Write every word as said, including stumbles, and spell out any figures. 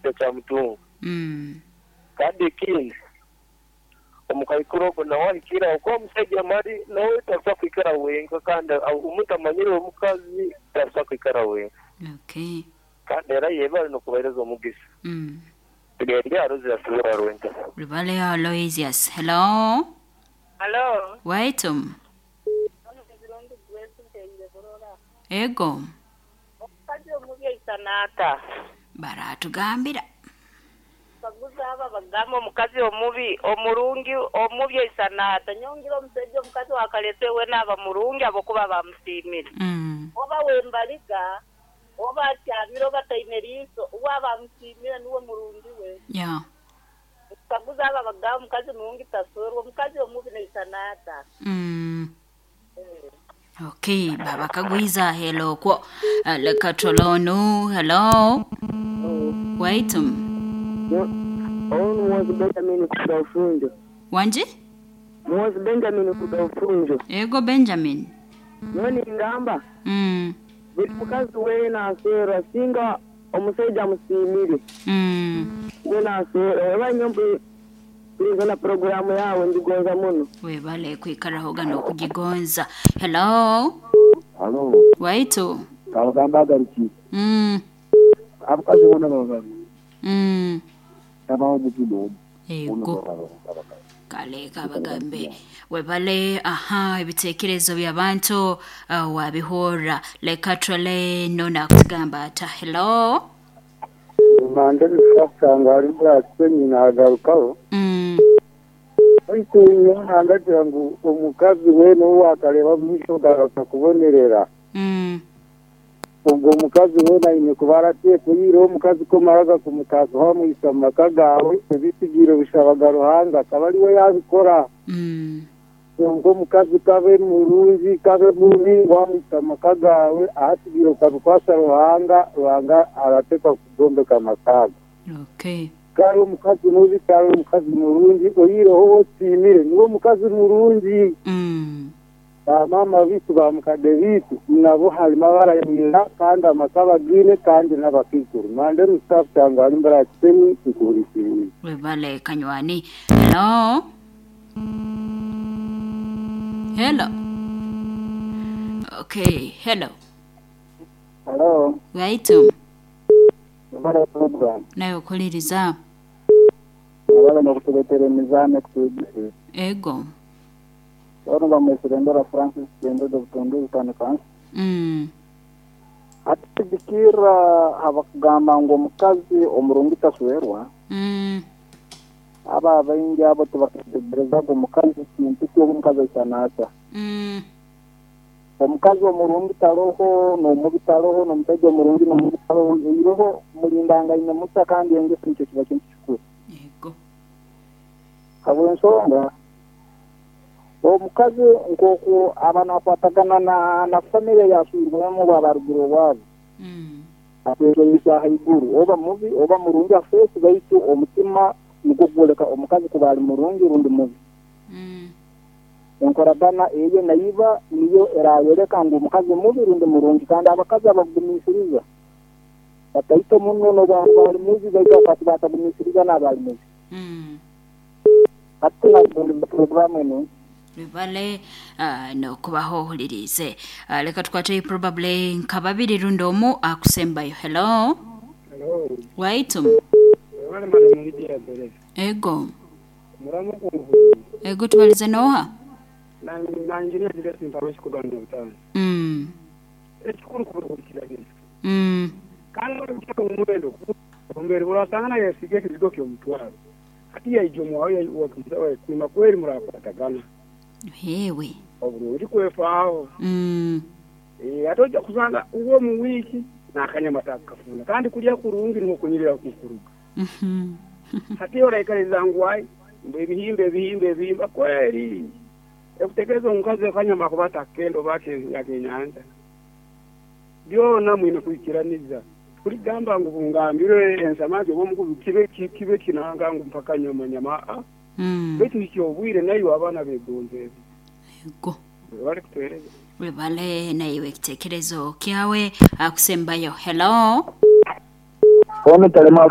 Atakyamutunga. Mm. Kandi ekindi, omukaikuru ogwo nawe ahikire aho kuba omushaija mari nawe takusobola kwikara wenka, kandi omuntu amanyire omukazi takusobola kwikara wenka. Okay. Kandi era yebale n'okubahereza omugisa. Mm. Tugende Aloysius Rwenta. Rubale Aloysius. Hello. Halo. Waitum. Ego. Omukazi omubi aisana ata? Baratugambira. Baguza aba bagamba omukazi omubi omurungi omubi aisana ata? Nyongera omusajja omukazi wakalese we naaba murungi abokuba bamusiimire. Mm. Oba wembaliga oba atyamire oba taine riiso oba bamusiimire niwe murungi we. Yeah. Baguza aba bagamba omukazi murungi tasorwa, omukazi omubi naisana ata? Mm. Okay, baba kagwiza hello kwo. Uh, leka tolonu. Hello. Waitum. Onu Mwozi Benjamin kuda ufunjo. Wanje? Mwozi Benjamin kuda ufunjo. Ego Benjamin. Noni ngamba Mm. buli mukazi weena aseerwa singa omusajja amusiimire Mm. weena aseerwa oba nyo mpuliza na programu yawe ndigonza muno. Webale kwikaraho gano okugigonza. Hello. Halo, Waitu. kabagamba agaruki. Mm. Abakazi bona baba babiri. Mm. Tabaho omubi n'omu. Ego. Kale kabagambe webale aha ebitekerezo by'abantu uh, wabihora leka twale nona kutugamba ata hello. Mande bisanga ari muri Asenyi nagarukaho. Mm. Ariko nyangagira ngu omukazi we n'owakareba mwisho gakakubonerera. Mm. Ubwo omukazi we naine kuba arateekire omukazi komaraga kumutaasa wamwisa mu maka gawe ebisigiro bishabaga Ruhanga akaba ariwe yabikora. Mm. Ubwo omukazi kabe murungi kabe mubi wamwisa mu maka gawe ahasigire ukabikwasa Ruhanga, Ruhanga arateekwa kugombeka amakaga. Okay. Kari omukazi mubi kari omukazi murungi oyireho wosiimire niwe omukazi murungi. Mm. Bamama bitu bamukade bitu nabo harimo abarayira kandi amaka bagine kandi n'abakikuru mande rusafu cyangwa ari mbara kisemi nkurisiriye. Webale kanywani. Hello. Hello. Okay, hello. Hello, Waitu. mbara program Nayo kuliriza. abana nokutuletera emizame kutugisha. Ego. Ono bamwesirendera Francis Kendo Butundu bitandika. Mm. Ati abakugamba ngu omukazi omurungi taswerwa. Mm. Aba abaingi abo tibaketegerezaga omukazi kintu ky'omukazi aisana ata. Mm. Omukazi omurungi taroho n'omubi taroho n'omusajja omurungi n'omubi taroho iroho mulindangaine musa kandi engeso nikyo kiba kintu kikuru. Ego. Habw'ensonga omukazi nk'oku aba nakwatagana na na famire yaswirwemu bwabarugire owaabo. Mm. Akwesomesa haiguru oba mubi oba murungi afeesi baitu omutima nigwo gwoleka omukazi kuba ali murungi rundi mubi. Mm. Enkoragana eyo naiba niyo erayoleka ngu omukazi mubi rundi murungi kandi abakazi abagumisiriza bataito muno n'obwali mubi baitu abakazi batagumisiriza n'abali mubi. Mm. Ati na programu eno Webale uh, nokubaho ohulirize. Uh, leka tukwate probably nka babiri rundi omu akusembayo. Hello. Hello. Waitum. Wale madam Lydia Bereza. Ego. Muramu kungu. Ego tubalize noha? Na na engineer Julius Mparoshi kuganda butano. Mm. Ekikuru kuburikiragenda. Mm. Kandi ori omuwendo ombere urasangana yasige ekizigo ky'omutwaro. Ati yaijomo wawe wakumsawe kuma kweri murakwatagana. Hewe. Oburungi kwefaaho. Mm. Eh atoja kusanga uwo mu wiki nakanyama takafuna kandi kulya kurungi niho kunyirira kukuruga. Mhm. Hati oraikariza ngwai mbe ebihimba ebihimba ebihimba kweri. Ekutekereza omukazi akanyama kubata kendo bake yakenyanja. Byona mwine kwikiraniza. Kuligamba ngu bungambire ensamaji obo kibe kibe kinanga ngu mpaka nyama nyama a. Mm. Betu ikyobwire nayo abana begonze. Ego. Bali kutueleza. Webale na iwe kitekerezo kyawe akusembayo. Hello. Ono talema